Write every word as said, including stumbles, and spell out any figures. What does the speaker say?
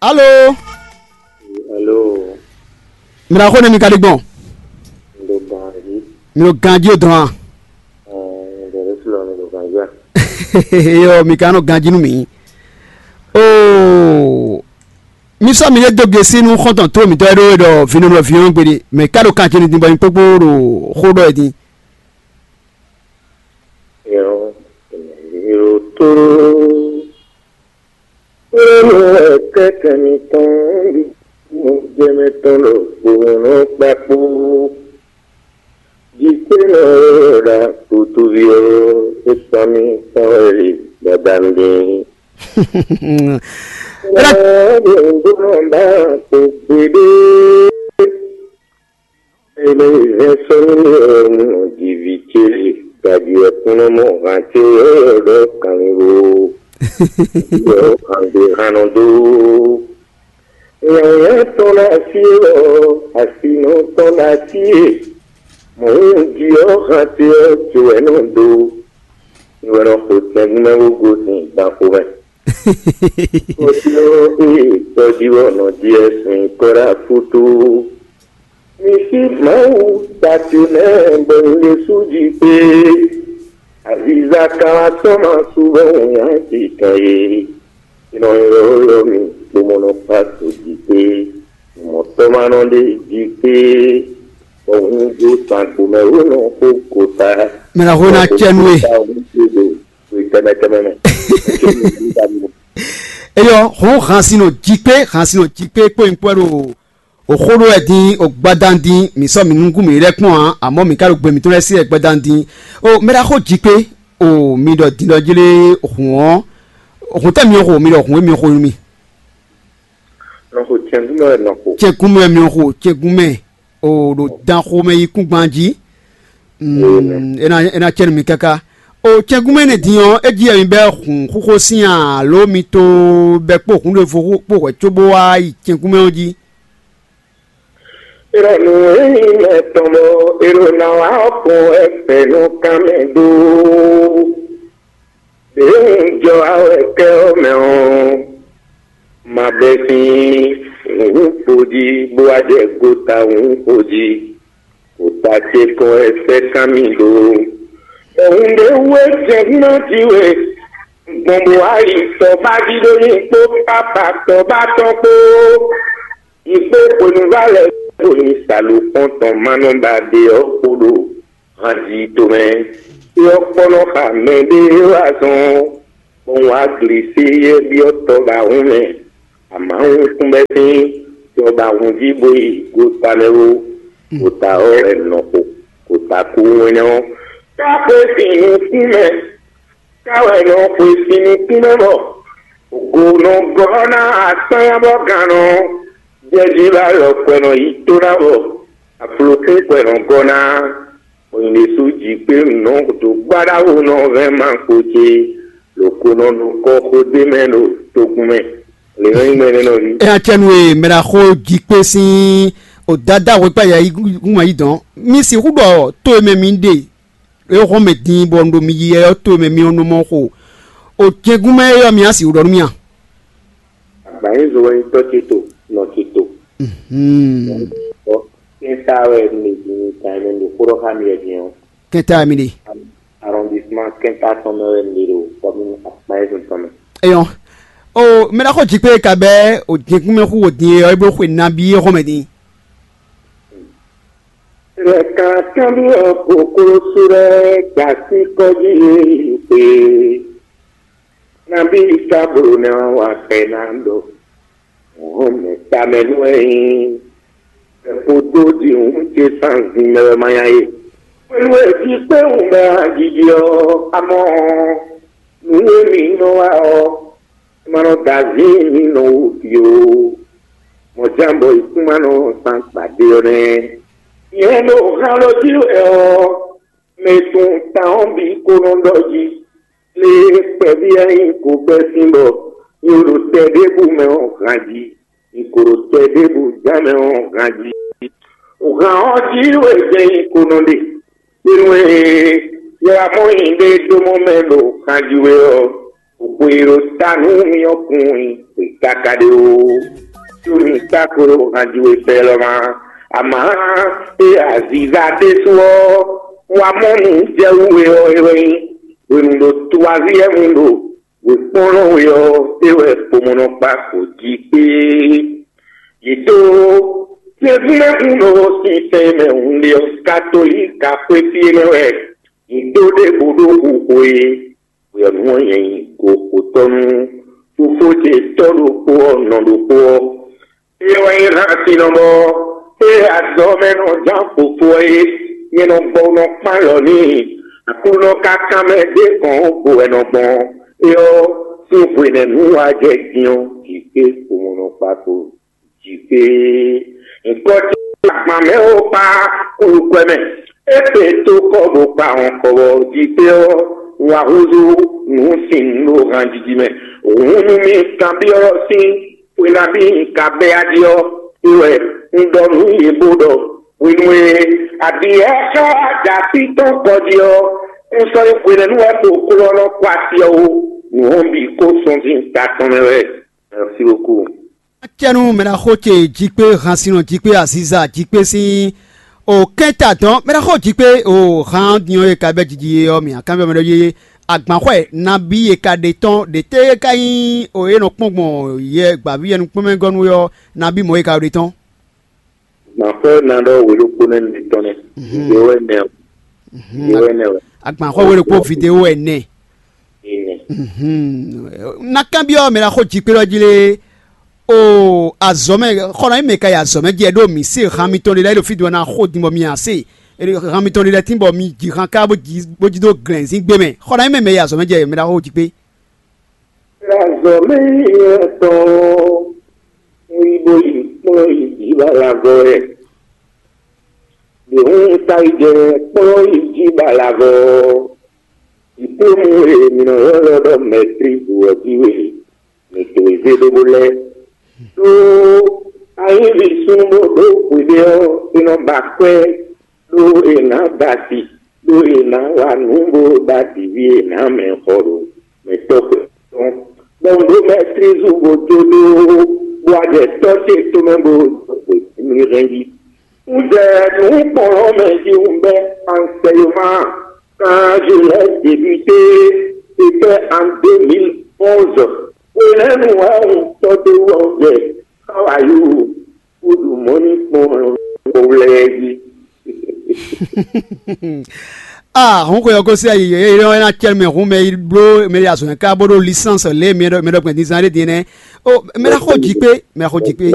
Alo. Alo. Mira xo ne mi ka ɖi gbɔn? Ndo ganji. Mi ɖo ganji o dɔn a? Ɛɛ, ndo ɖe filɔ mi do ganji a? Eyɔ, mi ka nɔ ganji nú mi. Oo, mi sɔ mi ɖe dó gesi nú xɔntɔn tó mi tɔ e ɖo e ɖɔ vinɔnɔ vinɔnɔ gbeɖe, mɛ ka ɖo kan ce ni din bɔ nyi kpókpó ɖo xó ɖɔ e din. Yɔ, yɔ tóró. Kpónú ɛkɛkɛ mitɔn, mo jɛ mɛ tɔn ɖo kpónú kpakpó. Jikpénɔ ɖa kutuvi ɔ́, é sɔ́ mì tɔn wɛ ɖi gbadanu ɖe. Ɔ́ ɖo nǔɖó nɔ ɖa kpó gbeɖé. Ele hɛn sɔ́ nú mì ɔ́, un nɔ ji vǐ ce, gaji wɛ kún nɔ mɔ han ce ɔ́ ɖɔ kanlin lo, ɖɔ han ɖe han nɔ dó. Nyawǐnyá tɔn ɖo así e ɔ́, asinɔ tɔn ɖo así e, mɔ̌ un ji ɔ́, han ce ɔ́, ce wɛ nɔ dó. Mi wɛ nɔ xo tɛngbɛ́ bó gosín gbǎn xomɛ. Kɔ́tínɔ e tɔjíwɔ́nɔ ɖíe sin kɔ́ ɖo afútú. Mi sí Mawu tati nɛ́ bɔ un ɖésú jí kpé. Aviza ka wá tɔ́n ma sú bɔ un nyá titɔn e. Nɔ ylɔ́ylɔ́ mi bó mɔ nɔ kpá tó jí kpé. Mɔ̌tɔ́mánɔ ɖé jí kpé. Bɔ un dó sangbo mɛ wó nɔ xó kota. Mɛ ná xó ná cɛ nú we. Tɛmɛ tɛmɛ mɛ. Eyɔ, hɔn hansinɔ jí kpé, hansinɔ jí kpé kpó nyí kpɔ́ ɖo òxó ɖó wɛ dín ògbadán dín mǐ sɔ́ mǐ nukún mǐ lɛ́ kpɔ́n ǎ, àmọ́ mǐ ka ɖo gbe mǐtɔn lɛ́ɛ sí wɛ gbadán dín. O mɛ ɖaxó jí kpé, o mi ɖɔ din ɖɔ jlé hǔn ɔ́, hǔn tɛ́ mi xo, mi ɖɔ hǔn e mi xo nú mi. Nɔ xo cɛngúmɛ wɛ nɔ xo. Cɛngúmɛ mi xo, cɛngúmɛ o ɖo dan xomɛ yi kúngban jí. Mm, e ná e ná cɛ nú mi káká. O cɛngúmɛ énɛ́ din ɔ́, é jí wɛ mi bɛ́ hǔn xúxó sín alo mi to bɛ́ kpó hǔn ɖěvo kpó hwɛ̌ cóbó wá yi cɛngúmɛ ɔ́ jí. Ìrọ̀lù èyí mɛ tɔn bɔ èrò náà wá kún ẹgbẹ́ nú kánmɛ dó. Èyí ń jọ awɛ kẹ́ ọ́ mɛ ɔ́, ma bɛ sín wǔ kpo jí bó wá jɛ gota wǔ kpo jí. Kota ce kɔn wɛ sɛ́ kán mì ɖó. Ɛhun ɖé wú é jɛ nɔ jí we. Gbɔn bó wá yi tɔ bá jí ɖó nyi kpó pápá tɔ bá tɔn kpó. Yi kpé hwenu vá lɛ kpo nyi salo kpɔn tɔn ma nɔ ba ɖe ɔ́ kpo ɖo hanji tomɛ. É ɔ́ kpɔ́ nɔ xa mɛ ɖé wá zɔn bɔ un wá glisi yɛ byɔ́ tɔ ba hún mɛ. Amǎhun kún bɛ́ sín tɔ ba hun jí bó yi gota mɛ wú. Gota ɔ́ wɛ nɔ xo gota kú wɛnɛ ɔ́. Ká xwe sin nukún mɛ, ká wɛ nɔ xwe sin nukún mɛ bɔ go nɔ gɔ́ ná akpánya bɔ gannɔ jɛjí bá lɔ kwɛ nɔ yi tó ná bɔ aflokún kwɛ nɔ gɔ́ ná. Bɔ nyɛ ɖésú jí kpé nǔ nɔ do gbáɖáwó nɔ vɛ́ ma kpo ce, lǒ ko nɔ nukɔ xó ɖé mɛ ɖo togun mɛ. Lě nɔ nyí mɛ nɛ́ nɔ ví. Ɛ acɛnu e mɛ ɖo axó jí kpé sín o dada hwekpá yɛ yí gúnmɔ yí dɔn. Mi sixú ɖɔ tó e mɛ mi ɖe e hɔn mɛ din bɔ un ɖo mi yi yɛ ɔ́ tó e mɛ mi ɔ́ nɔ mɔ xo. O jɛngún mɛ e ɔ́ mi á sixú ɖɔ nú mì a? Agbanyízo wɛ nyí tɔ́ ce to, nɔ ce to. Kɛ́ntá wɛ mi din kan mɛ ɖo xó ɖɔ xá mi wɛ din ɔ́. Kɛ́ntá wɛ mi ɖe. Arrondissement kɛ́ntá tɔn mɛ wɛ mi ɖo commune Agbanyízo tɔn mɛ. Eyɔn. O mɛ ɖaxó jí kpé ka bɛ́ o jɛngún mɛ xú o din e ɔ́ é bló xwe nabí é hɔn mɛ din. Rɛ kan kanbyɔ́ koklósú lɛ́ɛ gba sí kɔ́jí yě yi xwé. Nabí ka bló nɛ́ ɔ́ wa kɛ ná ɖɔ hɔn mɛ tamɛ nú ɛ nyí. Kpódó ɖi hǔn ce sanzin mɛ wɛ ma nya e. Hwenu e jí kpé hǔn mɛ ajiji ɔ́, amɔ nǔ e mǐ nɔ wa ɔ́, ma nɔ da azǐn mǐ nɔ wú fio. Mɔ̌ ján bɔ yě kún ma nɔ san gbadé ɔ́ nɛ́. Nyɛ ɖo han ɖo jí wɛ ɔ́, mɛ tun tawɔn bǐ ko nɔ ɖɔ jí. Lě e kpɛví ɛ nyí ko gbɛ́ sín bɔ nyɛ ɖo tɛ ɖěbǔ mɛ ɔ́ han jí. Nyɛ ko ɖo tɛ ɖěbǔ ján mɛ ɔ́ han jí. Hǎn ɔ́ jí wɛ jɛ nyɛ ko nɔ ɖe. Hwenu e yɛ wá mɔ nyi ɖé dó mɔ mɛ ɖo han jí wɛ ɔ́, Xwe e ɖo ta nú mì ɔ́ kun nyi xwe káká ɖé ó. Có mi ka ko ɖo hanji we fɛ lɔ ma. Amǎ e aziza ɖésú ɔ́, wa mɔ nǔ jɛ wú we ɔ́, é wɛ nyí hwenu ɖo tuwazí ɛ́ mu ɖo wěkpɔ́nnɔ we ɔ́, é wɛ kpomɔnɔkpa ko jí kpé. Yě dó Jezu mɛ hun ɖo sinsɛn e mɛ hun ɖe ɔ́, katolíka xwé fí énɛ́ wɛ yě dó ɖěvo ɖó xixo e. Hwe ɔ́, nǔ ɔ́ nyɛ nyí goxotɔ́ nú fofó ce tɔ́ ɖokpó ɔ́, nɔ ɖokpó ɔ́. É wɛ nyí hánsinɔ bɔ é azɔ̌ mɛ nɔ zán fofó ɔ́ é. Nyɛ nɔ gbɔ nɔ kpán lɔ n'i. Aklúnɔ ka kan mɛ ɖé kɔn vo wɛ nɔ gbɔn. É ɔ́, sín hwenɛ́nu wá jɛ din ɔ́, jǐ kpé kpomɔnɔkpa kpo jǐ kpé. Nyǐkɔ ce agban mɛ ó kpá kúlúkwɛ mɛ. É kpe tó kɔ bó kpa hɔn kɔ bɔ jǐ kpé ɔ́, wá húzú nǔ sin ɖo hanjiji mɛ. Hǔn nú mì kanbyɔ́ sín xwe nabí un ka bɛ́ aɖi ɔ́, é wɛ un ɖɔ nǔ yě bó ɖɔ hwenu e aɖǐ ɛ xá ɖa sí tɔn kɔ jí ɔ́, un sɔ́ nyí hwenɛ́nu wɛ xo klɔ́ nɔ kɔ asi ɔ́ ó. Nǔ ɔ́ bǐ kó sɔ́ sín ta tɔn mɛ wɛ. Merci beaucoup. Acɛnu mɛɖaxó ce jí kpé hansinɔ jí kpé aziza jí kpé sín o kɛ́nta dɔn mɛɖaxó jí kpé o han diɔ e ka bɛ jiji ɔ́ mì akanvɛ mɛ ɖɔ yeye agbanxɔɛ nabí e ka ɖe tɔn ɖe tɛ ka nyí o e nɔ kpɔn gbɔn yɛ gbaví yɛ nukpɔnmɛ gɔnu ɔ́ nabí mɔ e ka ɖe tɔn. Gbǎnfɔ́ ná ɖɔ wě ɖokpó nɛ́ mi tɔn nɛ́. Vǐ wɛ nɛ. Vǐ wɛ nɛ wɛ. Agbanxɔ wɛ ɖokpó vidéo wɛ nɛ. Ine. Na kanbyɔ́ mɛ ná xó jikpé ɔ́ jí lé. O azɔ̌ mɛ xɔ ná nyí mɛ ka yi azɔ̌ mɛ jɛ ɖó mǐ se han mitɔn ɖé lɛ́ɛ ɖo fí din bɔ ná xó din bɔ mi ǎ se. Han mitɔn ɖé lɛ́ɛ tín bɔ mi ji han ká bó jí bó jí dó glɛ̌nzín gbé mɛ xɔ ná nyí mɛ mɛ yi azɔ̌ mɛ jɛ mɛ ná xó jikpé. Azɔ̌ mɛ nyɛ tɔn. Ŋu yi bó yi kplɔ́n yi jǐ bó alavɔ wɛ. Ɖě hǔn un ka yi jɛ kplɔ́n yi jí bó alavɔ. Diplôme e mǐ nɔ ylɔ́ ɖɔ maîtrise ɔ́ jí wɛ mǐ dó zé ɖó bó lɛ́. Ɖó anyíví súnnu bó ɖó hwiɖée ɔ́, é nɔ ba kwɛ́ ɖó è nǎ ba asi, ɖó è nǎ wa nǔ bó ba ɖiví è nǎ mɛ xɔ ɖo mɛtɔ́ xwe tɔn. Bɔ un ɖó mɛtlízu bó dó ɖó bó wá jɛ tɔ́ ce tomɛ bó ɖo xwe mi hɛn jí. Un jɛ nǔ kplɔ́n mɛ jí un bɛ́ ansɛyoma. Quand je l'ai débuté, c'était en deux mille onze. Hwenɛ́nu wɛ un tɔ́ dó wɔ un jɛ xawayu bó ɖu mɔ̌ ní kpɔ́n kpɔ́wlɛ́ jí. Ah, hun xwe ɔ́ gosín ayi yě yé ɔ́ ná cɛ mɛ hun mɛ yi bló mɛ yi azɔ̌ ká bó ɖó lisánsi lě mɛ ɖɔ mɛ ɖɔ gbɛn dínzán ɖé dín nɛ́. Ó mɛ ná xó jí kpé mɛ ná xó jí kpé.